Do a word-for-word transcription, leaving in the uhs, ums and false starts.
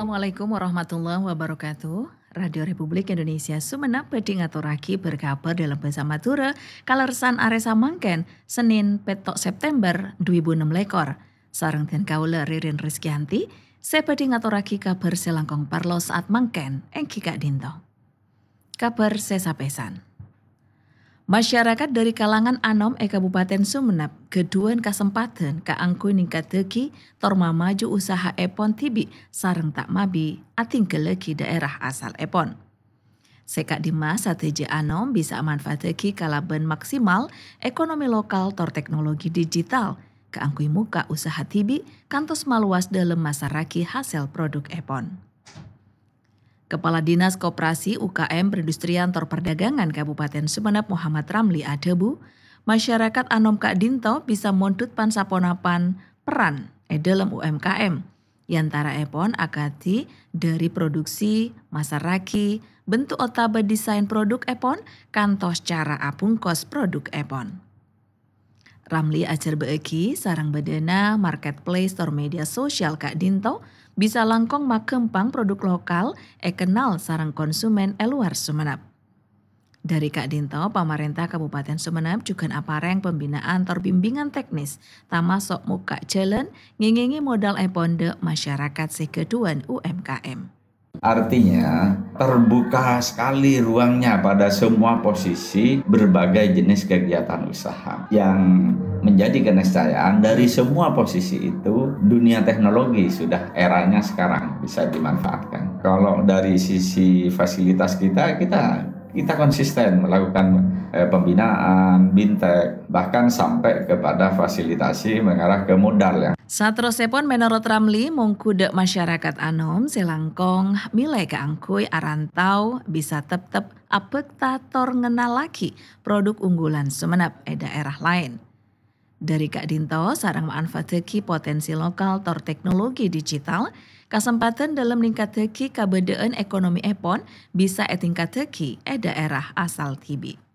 Assalamualaikum warahmatullahi wabarakatuh. Radio Republik Indonesia Sumenep bhâdhi ngatorraghi bâr-kabhâr dâlem bhâsa Madhurâ, kalerressan arè samangkèn, Sennèn, pètto' September dhu èbu ennem lèkor. Sareng dhân kaulâ Ririn Rizkyanti, sè bhâdhi ngatorraghi kabhâr sè langkong parlo saat mangkèn, èngghi ka'dinto. Kabhâr sè sapèsan. Masyarakat dhâri kalangan anom è Kabupaten Sumenep ghâdhuwân kasempadhân kaangghuy nèngkaddhâghi tor mamaju usaha'èpon dhibi' sareng ta' mabi adhinggallaghi dhaèra asalèpon. Sè ka'dimma sadhâjâ anom bisa amanfaataghi kalabân maksimal ekonomi lokal tor teknologi digital kaangghuy mokka' usaha dhibi' kantos malowas dâlem masarraghi hasèl produkèpon. Kepala Dinas Koperasi, U K M, Perindustrian tor Perdagangan Kabupaten Sumenep Muhammad Ramli adhâbu, masyarakat anom ka'dinto bisa mondhut pan-saponapan peran è dâlem U M K M, è antaraèpon akadhi dhâri produksi, masarraghi, bentuk otabâ desain produkèpon, kantos cara abungkos produkèpon. Ramli ajhârbâ'âghi sareng bâdâna marketplace tor media sosial ka'dinto bisa langkong maghâmpang produk lokal èkennal sareng konsumen è lowar Sumenep. Dhâri ka'dinto, pamarènta Kabupaten Sumenep jhughân aparèng pembinaan tor bimbingan teknis, tamaso' mokka' jhâlân ngèngèngè modalèpon dhâ' masyarakat sè ghâdhuwân U M K M. Artinya, terbuka sekali ruangnya pada semua posisi berbagai jenis kegiatan usaha. Yang menjadi keniscayaan, dari semua posisi itu, dunia teknologi sudah eranya sekarang bisa dimanfaatkan. Kalau dari sisi fasilitas kita, kita kita konsisten melakukan, eh, pembinaan, bintek, bahkan sampai kepada fasilitasi mengarah ke modal, ya. Saterrossèpon, mènorot Ramli, mongghu dhâ' masyarakat anom sè langkong mèlè kaangghuy arantau bisa teptep abhâkta tor ngennallaghi produk unggulan Sumenep è dhaèra laèn. Dhâri ka'dinto sareng manfaataghi potensi lokal tor teknologi digital, kasempadhân dâlem nèngkaddhâghi kabâdâ'ân ekonomièpon bisa ètèngkaddhâghi è dhaèra asal dhibi'.